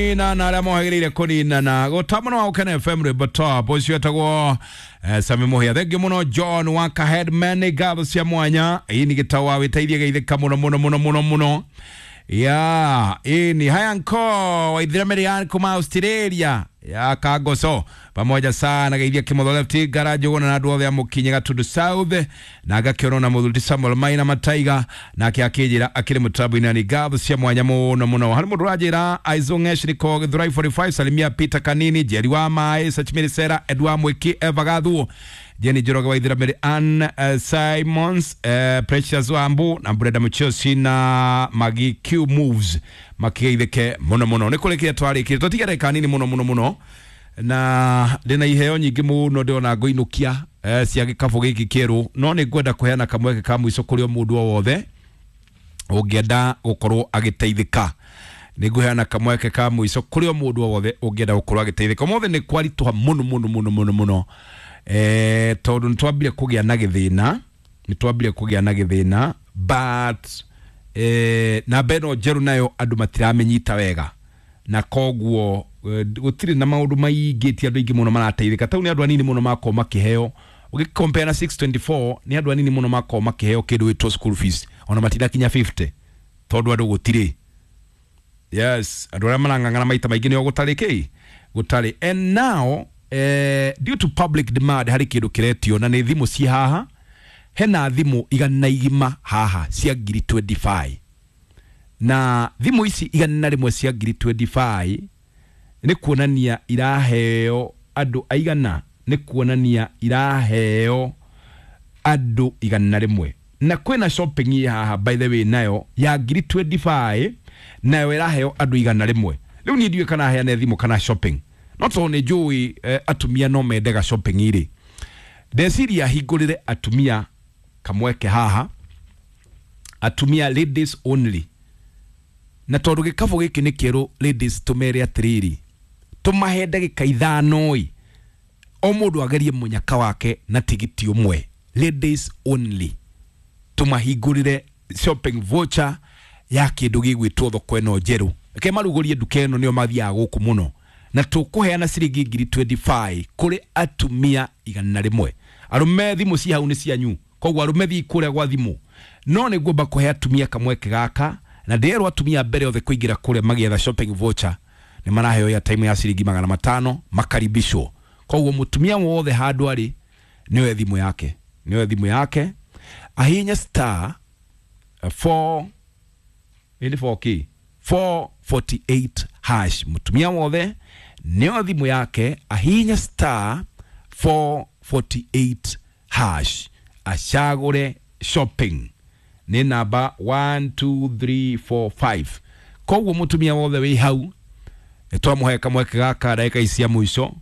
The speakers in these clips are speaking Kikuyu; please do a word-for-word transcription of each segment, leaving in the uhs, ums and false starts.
Kũnina na arĩa mohagĩrĩire kũninana gũta mũno wa Gũkena F M rwĩmbo top ũcio etagwo eh, Sami Mũhĩa. Thengiũ mũno John wa Kaheadman, ngatho cia mwanya. Ĩĩ nĩ gĩtawa wĩteithie geithĩka mũno mũno mũno mũno mũno ya ĩni haya nko waithira Marian kuma Australia ya Kagoso pamoja sana geithia Kimotho Left Garage wona na andũ othe a Mũkinyi Gatundu South na ngakĩona na mũthuri Samuel Maina Mataiga nake akĩnjĩra akĩrĩ mũtambo-inĩ ni ngatho cia mwanya mũno mũno. Harĩ mũndũ ũranjĩra Aizongesh niko Githurai forty-five, salimia Peter Kanini, Jerry wa Maĩ, Sachimiri Sera, Edward Mwiki, Eva Gathuo, Jenny Njoroge wa Ithira Mary Ann uh, Simons, uh, Precious Wambu na Brenda Muchosi na Magi Q Moves makigeithĩke mũno mũno. Nĩ kũrĩkia twarĩkire tũtigere kanini mũno mũno mũno na ndĩna iheo nyingĩ mũno ndĩrona ngũinũkia eh, cia gĩkabũ gĩkĩ kĩerũ, no nĩ ngwenda kũheana kamweke ka mũico kũrĩ o mũndũ o wothe ũngĩenda gũkorwo agĩteithĩka. Nĩ ngũheana kamweke ka mũico kũrĩ o mũndũ o wothe ũngĩenda gũkorwo agĩteithĩka. Ũmũthĩ nĩ kwaritũha mũno mũno mũno mũno mũno eh, tondũ nĩ twambire kũgĩa na gĩthĩna, nĩ twambire kũgĩa na gĩthĩna but eh, namba ĩno njerũ nayo andũ matiramĩnyita wega na koguo eh, gũtirĩ na maũndũ maingĩ, ti andũ aingĩ mũno marateithĩka. Tau nĩ andũ anini mũno makorwo makĩheo, ũgĩcompare na six twenty-four nĩ andũ anini mũno makorwo makĩheo kĩndũ gĩtwo school fees, ona matirakinya fifty tondũ andũ gũtirĩ. Yes, andũ arĩa marang'ang'ana maita maingĩ nĩo gũtarĩ kĩ gũtarĩ. And now eh, due to public demand harĩ kĩndũ kĩretio na nĩ thimũ ci haha, hena thimũ igana igima haha cia ngiri twenty-five, na thimũ ici igana rĩmwe cia ngiri twenty-five nĩ kuonania iraheo andũ aigana, nĩ kuonania iraheo andũ igana rĩmwe. Na kwĩna shopping ĩ haha by the way nayo ya ngiri twenty-five nayo ĩraheo andũ igana rĩmwe. Rĩu niĩ ndiũĩ kana heane thimũ kana shopping, no tondũ nĩ njũĩ eh, atumia no mendega shopping rĩ, ndeciria hingũrĩre atumia kamweke haha, atumia ladies only. Na tondũ gĩkabũ gĩkĩ nĩ kĩerũ ladies, tũmere atĩrĩrĩ, tũmahe ndagĩka ithano ĩ, o mũndũ agerie mũnyaka wake na tigiti ũmwe, ladies only. Tũmahingũrĩre shopping voucher ya kĩndũ gĩgwĩtwo thoko ĩno njerũ. Reke marugũrie nduka ĩno, nĩo mathiaga gũkũ mũno, na tũkũheana ciringi ngiri twenty-five kũrĩ atumia igana rĩmwe. Arũme thimũ ci hau nĩ cianyu, koguo arũme thiĩ kũrĩa gwa thimũ, no nĩ ngwamba kũhe atumia kamweke gaka, na ndĩrerwo atumia mbere othe kũingĩra kũrĩa magĩetha shopping voucher nĩ maraheo airtime ya ciringi magana matano makaribishwo. Koguo mũtumia wothe handũ arĩ nĩoe thimũ yake, nĩoe thimũ yake ahihinye star four ĩni four k four forty-eight hash. Mũtumia wothe nĩoe thimũ yake ahihinye star four forty-eight hash acagũre shopping nĩ namba one two three four five. Koguo mũtumia wothe wĩ hau twamũhe kamweke gaka ndagĩka ici cia mũico,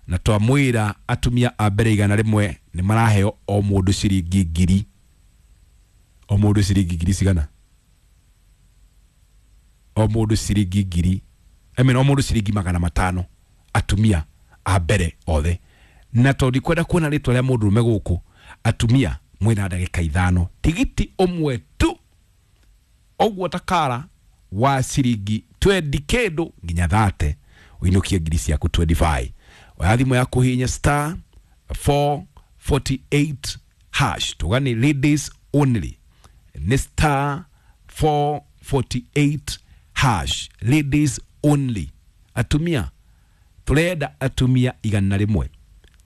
na twamwĩra atumia a mbere igana rĩmwe nĩ maraheo o mũndũ ciringi ngiri, o mũndũ ciringi ngiri cigana, o mũndũ ciringi ngiri, I mean, o mũndũ ciringi magana matano atumia a mbere othe. Na tondũ ndikwenda kuona rĩtwa rĩa mũndũrũme gũkũ, atumia mwĩna ndagĩka ithano tigiti ũmwe tu ũguo takara wa ciringi twenty kĩndũ nginya thate ũinũkie ngiri ciaku twenty-five. Oya thimũ yaku hihinya star four forty-eight hash, tuga nĩ ladies only, nĩ star four forty-eight hash, ladies only. Atumia tũrenda atumia igana rĩmwe,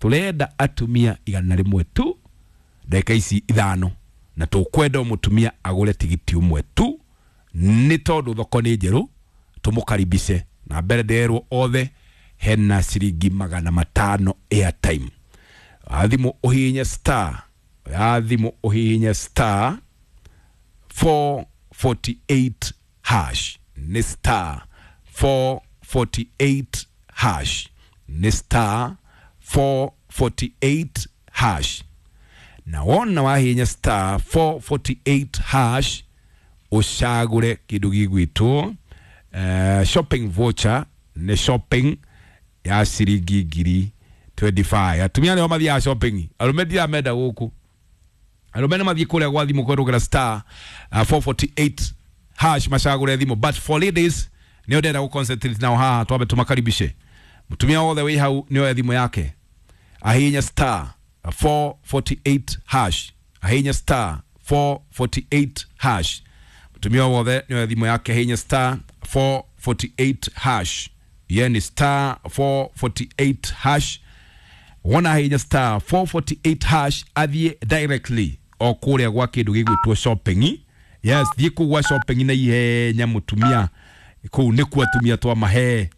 tũrenda atumia igana rĩmwe tu ndagĩka ici ithano, na tũkwenda o mũtumia agũre tigiti ũmwe tu, nĩ tondũ thoko nĩ njerũ, tũmũkaribice. Na mbere nderwo othe hena ciringi magana matano airtime. Oya thimũ ũhihinye star, oya thimũ ũhihinye star four forty-eight hash, nĩ star four forty-eight hash, nĩ star four forty-eight hash. Na wona wahihinya star four forty-eight hash ũcagũre kĩndũ gĩgwĩtwo uh, shopping voucher, nĩ shopping ya ciringi ngiri twenty-five. Atumia nĩo mathiaga shopping, arũme ndiramenda gũkũ, arũme nĩ mathiĩ kũrĩa gwa thimũ kwerũgĩra star uh, four forty-eight hash macagũre thimũ, but for ladies Nio ndenda gå concentrate nao haha twambe tumakaribishe. Mutumia wothe wi hau nioe thimu yake ahinya star four forty-eight hash, ahinya star four forty-eight hash. Mutumia wothe nioe thimu yake ahinya star four forty-eight hash, yani star four forty-eight hash. Wona ahinya star four forty-eight hash athie directly o kuria gwa kindu gigwitwo shopping. Yes, thie kuu gwa shopping na ihenya mutumia kuu nikuo atumia twa mahe.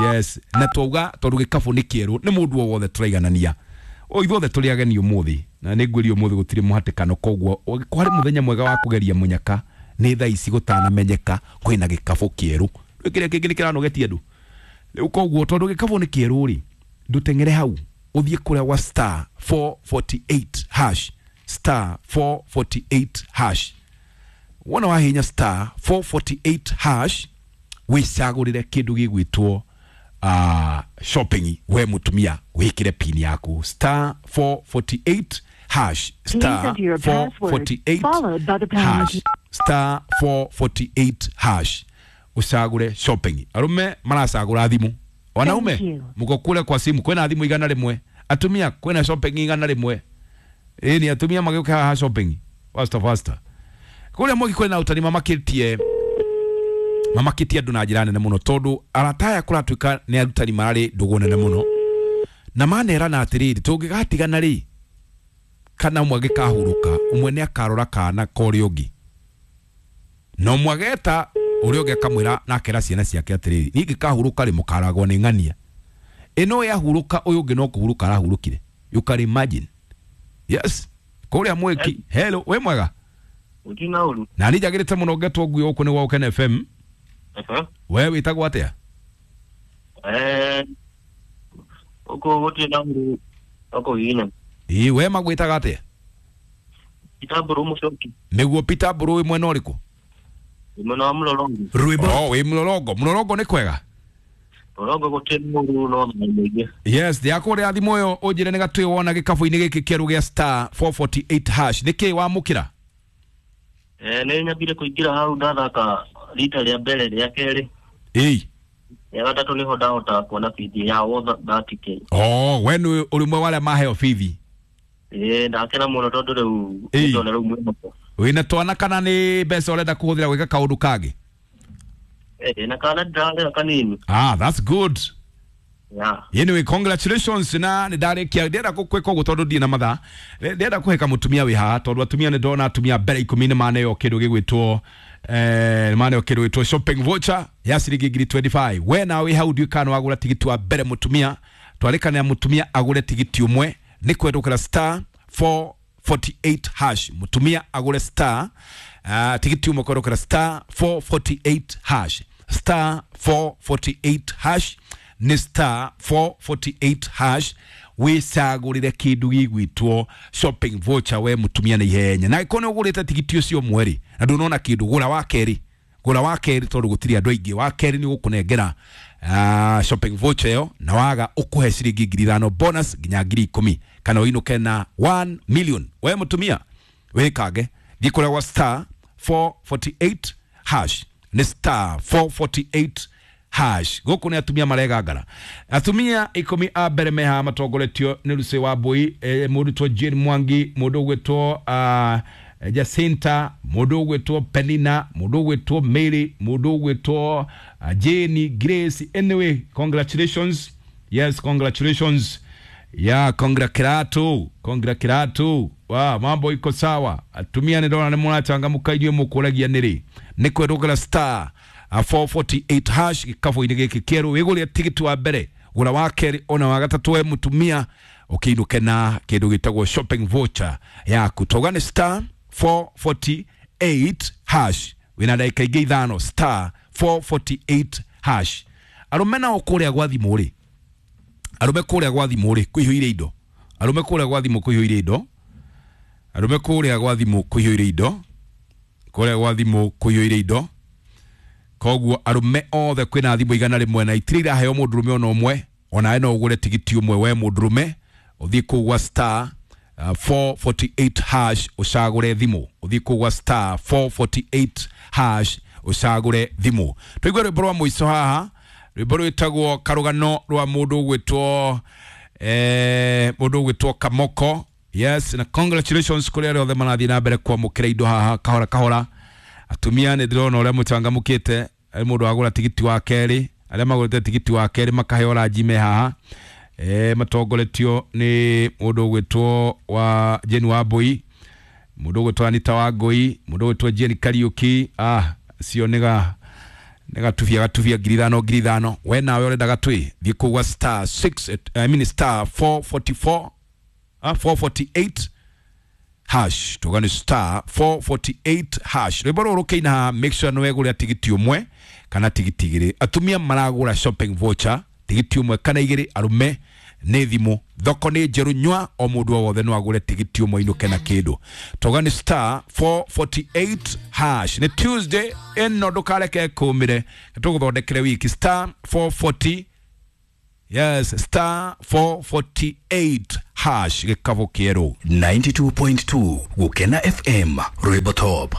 Yes, na twauga tondu gikabu ni kieru ni mundu o wothe turaiganania o ithuothe turi ageni umuthi na ni ngwirio umuthi gutiri muhatikano, koguo kwari muthenya mwega wa kugeria munyaka ni thaa ici gutanamenyeka kwina gikabu kieru kiria kingi ni kiranogetie andu riu. Koguo tondu gikabu ni kieru ri nduteng'ere hau uthie kuria wa star four forty-eight hash, star four forty-eight hash. Wona wahinya star four forty-eight hash wicagurire kindu gigwitwo uh, shopping. We mutumia wikire pin yaku star four forty-eight hash, star four forty-eight hash, star four forty-eight hash ucagure shopping. Arume maracagura thimu, wanaume muko kule kwa simu kwina thimu igana rimwe, atumia kwina shopping igana rimwe. Ĩ ni atumia magiuka haha shopping faster faster kuria mwegi kwina utani mamakitie mamakitie andu na njira nene muno tondu arata aya kuratuika ni arutani marari ndugu nene muno na manerana atiriri tungigatigana ri kana umwe agikahuruka umwe ni akarora kana kori ungi no mwageta uria ungi akamwira na akera ciana ciake atiriri ni ngikahuruka ri mukaragwo ni ng'ania ino yahuruka uyu ungi no kuhuruka arahurukire. You can imagine. Yes, kuria mweki. Hello, we mwega utina uru na ni njagirite muno ngetwo ngui guku ni gwa Ukene F M. Uh-huh. We witagwo atia? Eh, uko gutina uru uko ina ii we magwitaga atia? Peter Mburu Mucoki. Niguo Peter Mburu wi mwena uriku? Mwena wa Mlolongo. Rwimbo. Oh, wi Mlolongo. Mlolongo ni kwega? Mlolongo gutina uru no maingi. Yes, ndiakuria thimu uyu unjire ni gatwi wona gikabu-ini giki kieru gia star four forty-eight hash niki wamukira? Eh, ni nyambire kuingira hau ndathaka rita ria mbere ria keri. Ii ya gatatu niho ndahota kuona bithi ya wotha thirty k. Oh, we ni uri mwe waria maheo bithi? Eh, ndakena muno tondu riu ndona riu mwihoko. Wina twana kana ni mbeca urenda kuhuthira gwika kaundu kangi? Eh, na kana ndirarera kanini. Ah, that's good. Yeah. Anyway, congratulations na ndarikia ndenda gukwika uguo tondu ndina mathaa ndenda kuheka mutumia wi haha tondu atumia ni ndona atumia mbere ikumi ni maneo kindu gigwitwo eh maneo kindu gigwitwo shopping voucher ya ciringi ngiri twenty-five. We nawe wi hau ndiũĩ kana wagura tigiti wa mbere mutumia twarikana mutumia agure tigiti umwe ni kwendukira star four forty-eight hash mutumia agure star uh, tigiti umwe kwendukira star four forty-eight hash, star four forty-eight hash ni star four forty-eight hash wicagurire kindu gigwitwo shopping voucher we mutumia na ihenya na ikone ugurite tigiti ucio mweri na ndunona kindu gura wa keri gura wa keri tondu gutiri andu aingi wa keri ni gukunengera uh, shopping voucher yo na waga ukuhe ciringi ngiri ithano bonus nginya ngiri ikumi kana uinuke na one million. We mutumia wikange thiĩ kuria gwa star four forty-eight hash ni star four forty-eight hash. Guku ni atumia maregangara atumia ikumi a mbere meha matongoretio ni Lucy wa Mbui, eh, mundu two Jane Mwangi, mundu ugwitwo uh, Jacinta, mundu ugwitwo Penina, mundu ugwitwo Mary, mundu ugwitwo uh, Jane Grace. Anyway, congratulations. Yes, congratulations. Yeah, congratulato congratulato. Wow, mambo iko sawa. Atumia ni ndona ni murachangamuka inyuĩ mũkũragia nĩrĩ nĩ kwendũkĩra star four forty-eight hash gikabu-inĩ gĩkĩ kĩerũ wĩgũrĩre tigiti wa mbere gũra wa kerĩ ona wa gatatũ we mũtumia ũkĩinũke na kĩndũ gĩtagwo shopping voucher yaku. Tauga nĩ star four forty-eight hash wĩna ndagĩka ingĩ ithano star four forty-eight hash. Arũme nao kũrĩa gwa thimũ rĩ, arũme kũrĩa gwa thimũ rĩ kũihũire indo, arũme kũrĩa gwa thimũ kũihũire indo, arũme kũrĩa gwa thimũ kũihũire indo, kũrĩa gwa thimũ kũihũire indo. Koguo arume othe kwina thimu igana rimwe na itiri iraheo mundurume ona umwe onawe no ugure tigiti umwe we mundurume uthie kuu gwa star uh, four forty-eight hash ucagure thimu uthie kuu gwa star four forty-eight hash Ucagure thimu. Tuigue rwimbo rwa muico haha, rwimbo rwitagwo Karugano rwa mundu ugwitwo eh mundu ugwitwo Kamoko. Yes, na congratulations kuri aria othe marathie na mbere kwamukira indo haha kahora kahora. Atumia nĩ ndĩrona ũrĩa mũcangamũkĩte, arĩ mũndũ wagũra tigiti wa kerĩ, arĩa magũrĩte tigiti wa kerĩ makaheo ranji me haha, eh matongoretio nĩ mũndũ ũgwĩtwo wa Jane Wambui, mũndũ ũgwĩtwo Anita Wangui, mũndũ ũgwĩtwo Jane Kariuki. Ah, cio nĩga nĩgatubia gatubia ngiri ithano ngiri ithano. We nawe ũrenda gatwĩ thiĩ kũu gwa star six, I mean star four forty-four, ah, four forty-eight hash, tuga ni star four forty-eight hash. Rwimbo rũrũ rũkĩina haha, make sure nĩ wegũrĩra tigiti ũmwe kana tigiti igĩrĩ. Atumia maragũra shopping voucher tigiti ũmwe kana igĩrĩ, arũme nĩ thimũ. Thoko nĩ njerũ, nyua o mũndũ o wothe no agũre tigiti ũmwe inũke na kĩndũ. Tuga ni star four forty-eight hash. Nĩ Tuesday ĩno, ndũkareke kũmĩre, tũgũthondekere wiki. Star four forty, yes, star four forty-eight hash, gĩkabũ kĩerũ. ninety-two point two Gukena F M, Rwimbo Top.